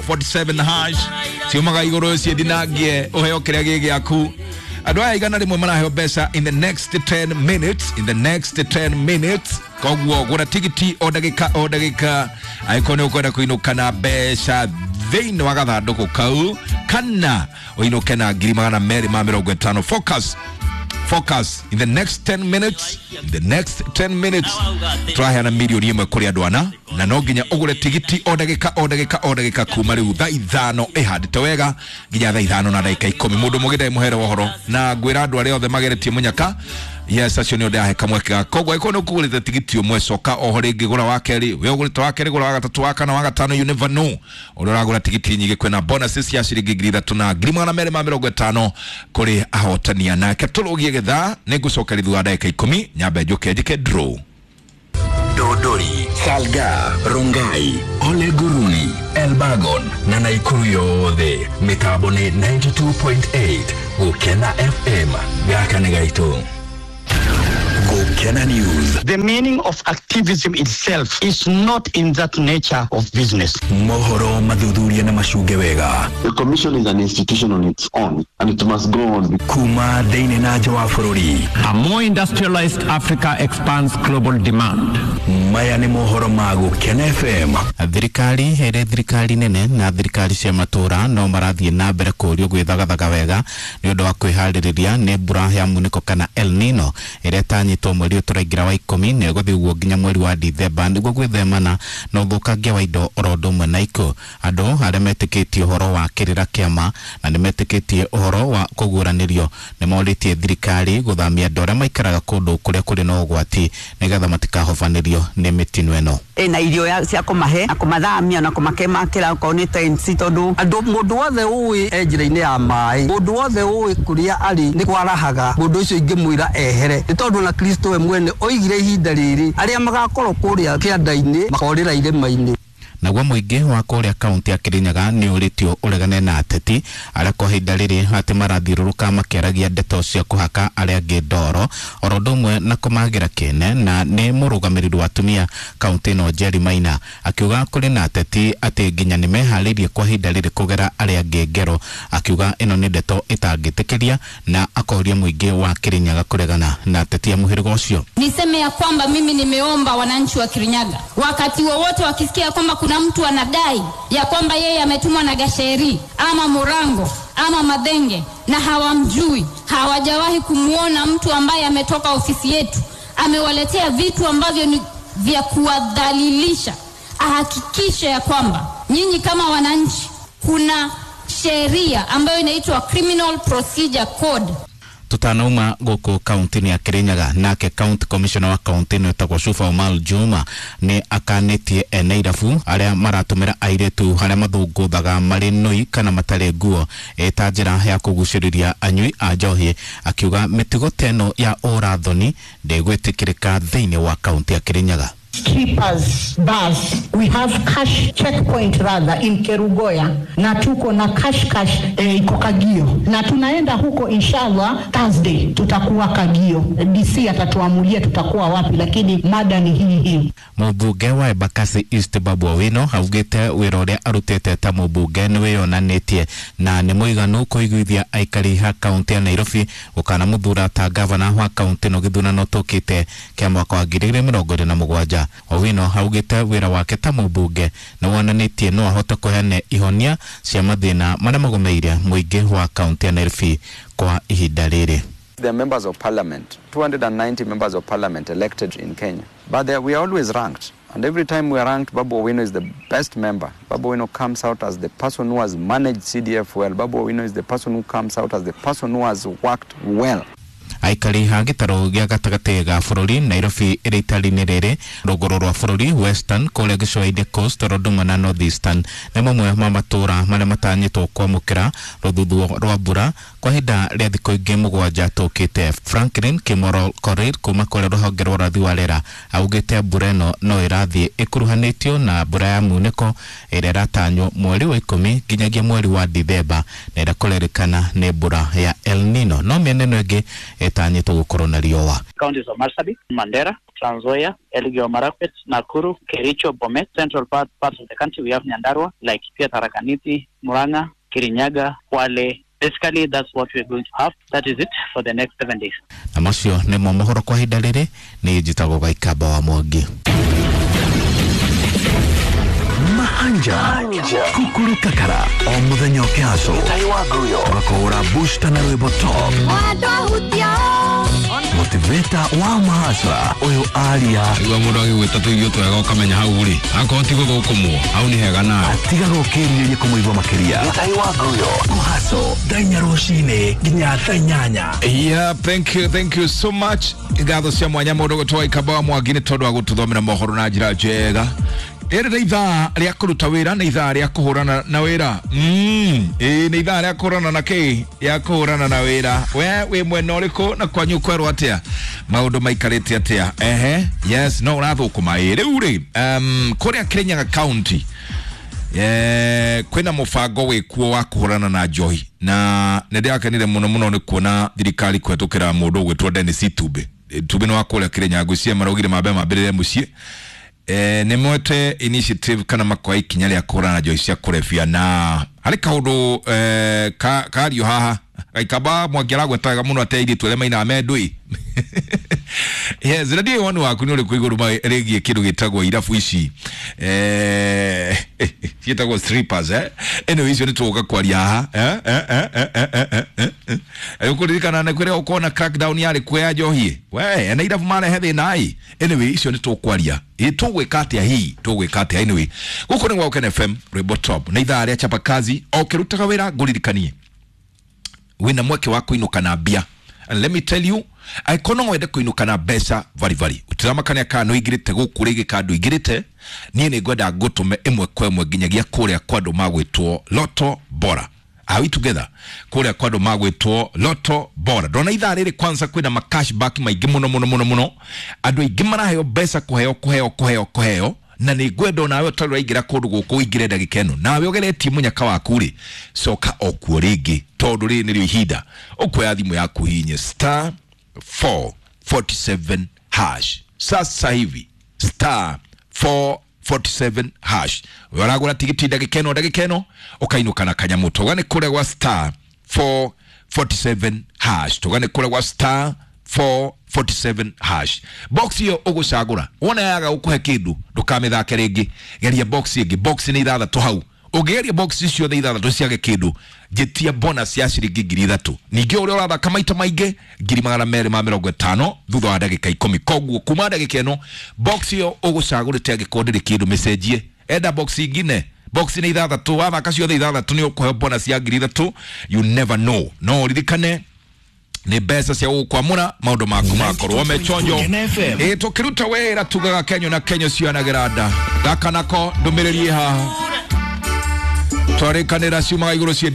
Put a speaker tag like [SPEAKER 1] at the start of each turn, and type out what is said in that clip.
[SPEAKER 1] 447 hash ciumaga igũrũ ciĩthinangie ũheo kĩrĩa gĩ gĩaku. Andũ aya 100 maraheo mbeca in the next 10 minutes, in the next 10 minutes. Koguo gũra tigiti o ndagĩka o ndagĩka angĩkorwo nĩ ũkwenda kũinũka na mbeca thĩinĩ wa gathandũkũ kau kana ũinũke na 250,000. Focus, focus in the next 10 minutes, in the next 10 minutes tũraheana 1 million kũrĩ andũ ana na no nginya ũgũre tigiti o ndagĩka o ndagĩka o ndagĩka kuma rĩu thaa 5 ĩhandĩte wega nginya thaa 5:10. Mũndũ mũgĩ ndarĩ mũhere wa ũhoro na ngwĩra andũ arĩa othe mageretie mũnyaka, yes, acio nĩo ndĩrahe kamweke ga koguo angĩkorwo nĩ ũkũgũrĩte tigiti ũmwe, coka oho rĩngĩ gũra wa kerĩ, we ũgũrĩte wa kerĩ, gũra wa gatatũ, wa kana, wa gatano. You never know, ũrĩa ũragũra tigiti nyingĩ kwĩna bonuses cia ciringi 3,000 na 250,000 kũrĩ ahotania. Nake tũrũgie gĩthaa nĩ ngũcokeria thutha wa ndagĩka 10 nyambe njũke njĩke draw.
[SPEAKER 2] Dodori, Salga, Rongai, Ole Guruni, Elbagon na Naikuru yothe mitambo ni 92.8 Gukena FM. Gaka nĩ gaitũ. Gukena News.
[SPEAKER 3] The meaning of activism itself is not in that nature of business.
[SPEAKER 2] Mohoro mathuthuria na macunge wega.
[SPEAKER 4] The commission is an institution on its own and it must go on.
[SPEAKER 2] Kuma thĩinĩ na nja wa bũrũri.
[SPEAKER 5] A more industrialized Africa expands global demand.
[SPEAKER 2] Maya nĩ mohoro ma Gukena FM.
[SPEAKER 6] Thirikari ĩrĩ thirikari nene na thirikari cia matũra no marathiĩ na mbere kũrio gwĩthagathaga wega nĩ ũndũ wa kwĩharĩrĩria nĩ mbura ya munĩko kana El Nino ĩrĩa ĩtanyĩtwo mweri ũyũ tũraingĩra wa 10 na ĩgũthiĩ ũguo nginya mweri wa Dithemba nĩguo gwĩthemana na ũthũkangia wa indo oro ũndũ ũmwe na ikuũ. Andũ arĩa metĩkĩtie ũhoro wa kĩrĩra kĩama na nĩ metĩkĩtie ũhoro wa kũguũranĩrio nĩ morĩtie thirikari gũthamia andũ arĩa maikaraga kũndũ kũrĩa kũrĩ na ũgwati nĩgetha matikahobanĩrio nĩ mĩtino ĩno.
[SPEAKER 7] Ĩna irio cia kũmahe na kũmathamia na kũmakemakĩra okorwo nĩ tents, tondũ andũ mũndũ wothe ũĩ e njĩra-inĩ ya maĩ, mũndũ wothe ũĩ kũrĩa arĩ nĩ kwarahaga, mũndũ ũcio ingĩmwĩra ehere nĩ tondũ na Kristo we mwene oigire ihinda rĩrĩ arĩa magakorwo kũrĩa kĩanda-inĩ makorĩra irĩma-inĩ.
[SPEAKER 6] Naguo mũingĩ wa kũrĩa kaunti ya Kirinyaga nĩ ũrĩtio ũregane na ateti arĩa kwa ihinda rĩrĩ atĩ marathiũrũrũka makĩaragia ndeto cia kũhaka arĩa angĩ ndoro oro ũndũ ũmwe na kũmagĩra kĩene. Na nĩ mũrũgamĩrĩri wa atumia kaunti ĩno Jerry Maina akiuga kũrĩ na ateti atĩ nginya nĩ meharĩirie kwa ihinda rĩrĩ kũgera arĩa angĩ ngero, akiuga ĩno nĩ ndeto ĩtangĩtĩkĩria na akoria mũingĩ wa Kirinyaga kũregana na ateti a mũhĩrĩga ũcio.
[SPEAKER 8] Niseme ya kwamba mimi nimeomba wananchi wa Kirinyaga, wakati wowote wakisikia kwamba kuna mtu anadai ya kwamba yeye ametumwa na Gacheri ama Murango ama Madhenge na hawamjui, hawajawahi kumwona mtu ambaye ametoka ofisi yetu amewaletea vitu ambavyo ni vya kuwadhalilisha, ahakikishe ya kwamba nyinyi kama wananchi, kuna sheria ambayo inaitwa Criminal Procedure Code.
[SPEAKER 6] Tutanauma gũkũ kaunti-inĩ ya Kirinyaga, nake county commissioner wa kaunti ĩno ĩtagwo Shufa Omar Juma nĩ akanĩtie ene irabu arĩa maratũmĩra airĩtu harĩa mathũngũthaga marĩ nũi kana matarĩ nguo ĩta njĩra ya kũgucĩrĩria anyui a njohi, akiuga mĩtugo ta ĩno ya ũrathoni ndĩgwĩtĩkĩrĩka thĩinĩ wa kaunti ya Kirinyaga.
[SPEAKER 9] Strippers bars. We have cash checkpoint rather in Kerugoya na tuko na cash cash iko Kagio na tunaenda huko inshallah Thursday tutakuwa Kagio. DC atatuamulia tutakuwa wapi, lakini mada ni hii hii.
[SPEAKER 6] Mũmbunge wa Embakasi East Babu Owino augĩte wĩra ũrĩa arutĩte ta mũmbunge nĩ wĩyonanĩtie na nĩ mũiganu kũiguithia aikari a kaunti ya Nairobi gũkanamũthura ta gavana wa kaunti ĩno gĩthurano tũkĩte kĩa mwaka wa 2027. Owino augĩte wĩra wake ta mũmbunge nĩ wonanĩtie no ahote kũheana ihonia cia mathĩna marĩa magũmĩire mũingĩ wa kaunti ya Nairobi kwa ihinda rĩrĩ.
[SPEAKER 10] There are members of parliament, 290 members of parliament elected in Kenya. But we are always ranked. And every time we are ranked, Babu Owino is the best member. Babu Owino comes out as the person who has managed CDF well. Babu Owino is the person who comes out as the person who has worked well.
[SPEAKER 6] Aikari a gĩtarũ gĩa gatagatĩ ga bũrũri, Nairobi ĩrĩ itari-inĩ rĩrĩ, rũgũrũ rwa bũrũri, Western, kũrĩa gĩcũa-inĩ, Coast oro ũndũ ũmwe na North Eastern nĩ mamwe ma matũũra marĩa matanyĩtwo kwamũkĩra rũthuthuo rwa mbura kwa ihinda rĩa thikũ ingĩ 7 tũkĩte. Franklin Kimoro Korir kuma kũrĩa rũhonge rwa ũrathi wa rĩera augĩte mbura ĩno no ĩrathiĩ ĩkuruhanĩtio na mbura ya munĩko ĩrĩa ĩratanywo mweri wa 10 nginyagia mweri wa Dithemba na ĩrĩa kũrerĩkana nĩ mbura ya El Nino, no mĩena ĩno ĩngĩ ĩtanyĩtwo gũkorwo na riũa.
[SPEAKER 11] Counties of Marsabit, Mandera, Trans Nzoia, Elgeyo Marakwet, Nakuru, Kericho, Bomet, central parts of the country we have Nyandarua, Laikipia, Tharaka Nithi, Murang'a, Kirinyaga, Kwale. Basically, that's what we're going to have. That is it for the next 7 days.
[SPEAKER 6] Na macio nĩmo mohoro kwa ihinda rĩrĩ. Nĩ njĩtagwo Gaikamba wa Mwangi.
[SPEAKER 2] Mahanja kukuru kakara o muthenya ũkĩhaco tũgakũhũra booster na rwĩmbo top motiveta wa mahasra ũyũ aria
[SPEAKER 1] igua mũndũ agĩgwĩta tũirio twega ũkamenya hau rĩ akorwo ti gũthũkũmwo hau nĩ hega nawe
[SPEAKER 2] atigaga ũkĩrirĩria kũmũigua makĩria kũhaco thaa inya rũcinĩ nginya thaa inyanya.
[SPEAKER 1] Yeah, thank you so much. Ngatho cia mwanya mũndũ gũtwa Ikamba wa Mwangi nĩ tondũ wa gũtũthomera mohoro na njĩra njega. Rĩrĩ nĩ ithaa rĩa kũruta wĩra, nĩ ithaa rĩa kũhũrana na wĩra. Ĩĩ nĩ ithaa rĩa kũhũrana na kĩ? Rĩa kũhũrana na wĩra. We wĩ mwena ũrĩkũ na kwanyu kwerwo atĩa? Maũndũ maikarĩte atĩa? Ehe, yes, no ũrathũkũma. Ĩ rĩu rĩ, kũrĩa Kirinyaga County kwĩna mũbango wĩkuo wa kũhũrana na njohi, na nĩ ndĩrakenire mũno mũno nĩ kuona thirikari kũhetũkĩra mũndũ ũgwĩtwo Dennis Itumbi. Itumbi nĩ wa kũrĩa Kirinyaga, ngwĩciria maraugire mambe mambĩrĩre mũciĩ. Nĩ moete initiative kana makoya ikinya rĩa kũhũrana na njohi cia kũrebia, na harĩ kaũndũ kario haha Gaikamba Mwangi aragwetaga mũno atĩ airĩtu arĩa mainaga me ndũi. Yes, na ndiũĩ woni waku nĩ ũrĩkũ igũrũ rĩgiĩ kĩndũ gĩtagwo irabu ici ciĩtagwo strippers, eh? Anyway, icio nĩ tũgũka kwaria haha. Ũkũririkana nĩ kũrĩa ũkona crackdown yarĩ kuo ya njohi, we na irabu marehe thĩna ĩ. Anyway, icio nĩ tũkwaria. Ĩ tũgwĩka atĩa hihi, tũgwĩka atĩa? Anyway, gũkũ nĩ gwa Ũkene FM, rwĩmbo top, na ithaa rĩa chapa kazi. O ũkĩrutaga wĩra ngũririkanie wĩna mweke wa kũinũka na mbia. And let me tell you, angĩkorwo no wende kũinũka na mbeca varibari, ũtiramakania kana nĩ ũingĩrĩte gũkũ rĩngĩ kana ndũingĩrĩte, niĩ nĩ ngwenda ngũtũme ĩmwe kwa ĩmwe nginyagia kũrĩa kwa andũ magwĩtwo Lotto Bora. Are we together? Kũrĩa kwa andũ magwĩtwo Lotto Bora. Ndona ithaa rĩrĩ kwanza kwĩna ma cashback maingĩ mũno mũno mũno mũno. Andũ aingĩ maraheo mbeca kũheo kũheo kũheo kũheo, na nĩ ngwenda onawe ũtarĩ ũraingĩra kũndũ gũkũ ũingĩre ndagĩka ĩno, nawe ũgeretie mũnyaka waku rĩ, coka o kuo rĩngĩ, tondũ rĩrĩ nĩrĩo ihinda. Ũkuoya thimũ yaku hihinye star 447 hash sasa hivi, star 447 hash. We ũragũra tigiti ndagĩka ĩno, ndagĩka ĩno ũkainũka na kanyamũ. Tũgane kũrĩa gwa star 447 hash, tũgane kũrĩa gwa star 447 hash. Box iyo ũgũcagũra wona yaga gũkũhe kĩndũ ndũkamĩthake rĩngĩ, geria box ĩngĩ. Box nĩ ithathatũ hau, ũngĩgeria box ciothe ithathatũ ciage kĩndũ, njĩtia bonus ya ciringi 3,000. Ningĩ ũrĩa ũrathaka maita maingĩ 250,000 thutha wa ndagĩka 10. Koguo kuma ndagĩka ĩno box iyo ũgũcagũrĩte angĩkorwo ndĩrĩ kĩndũ mĩcenjie, enda box ingine. Box nĩ ithathatũ, wathaka ciothe ithathatũ nĩ ũkũheo bonus ya 3,000. You never know. No ũririkane nĩ mbeca cia gũkwamũra maũndũ maku makorwo mechonjo. Ĩ tũkĩruta wĩra tugaga Kenyo na Kenyo cionagĩra nda. Gaka nako ndũmĩrĩri haha twarĩkanĩra ciumaga igũrũ ciĩ